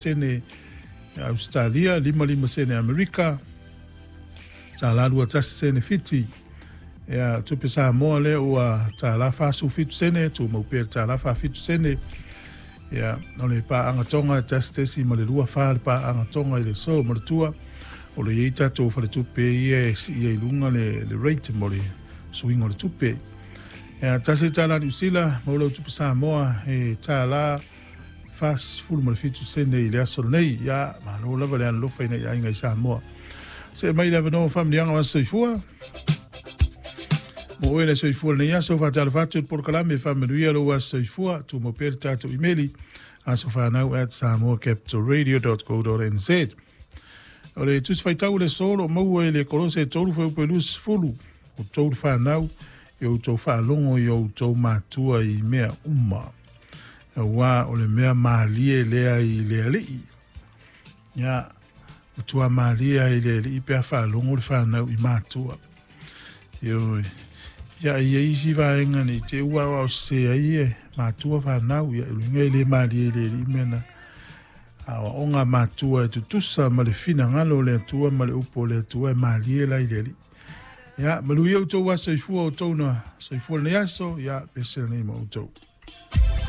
sene Ausetalia, 55 sene Amerika, $1.21 sene Fiti. Ia, tupe Samoa lea ua $1.47 sene, tumau pea le $1.47 sene. Ia, o le paaga Tonga e 1.24 le paaga Tonga i le aso. Manatua, o lo o i ai tatou faletupe ia e sii ai i luga le, le rate mo le suiga o le tupe. Ia, $1 Niu Sila, maua lau tupe Samoa e $47 sene i le aso lenei. Ia, malo lava le alolofa i nai aiga i Samoa. See mai le avanoa o faamanuiaga o aso soifua. Mo oe le soifua lenei aso, faatalofa atu i le polokalame faamanuia lou aso soifua. Tumau pea le tatou imeli asofanau@samoacapitalradio.co.nz. O le tusi faitau o le aso o lo o maua i le Kolose 3 fuaiupu e 20, outou le fanau, i outou faalogo i outou matua i mea uma, aua o le mea malie lea i le Alii. Ia, matua malie ai le Alii pe a faalogo le fanau i matua. Ioe. Ia, e i ai isi vaega ne i te i ua aoaosese ai e matua fanau, ia, o luiga e le malie i le Alii mea na. Aoaoga a matua e tutusa ma le finagalo o le Atua ma le upu o le Atua e malie la i le Alii. Ia, manuia outou aso soifua, outou na soifua lenei aso, ia, pese lenei ma outou.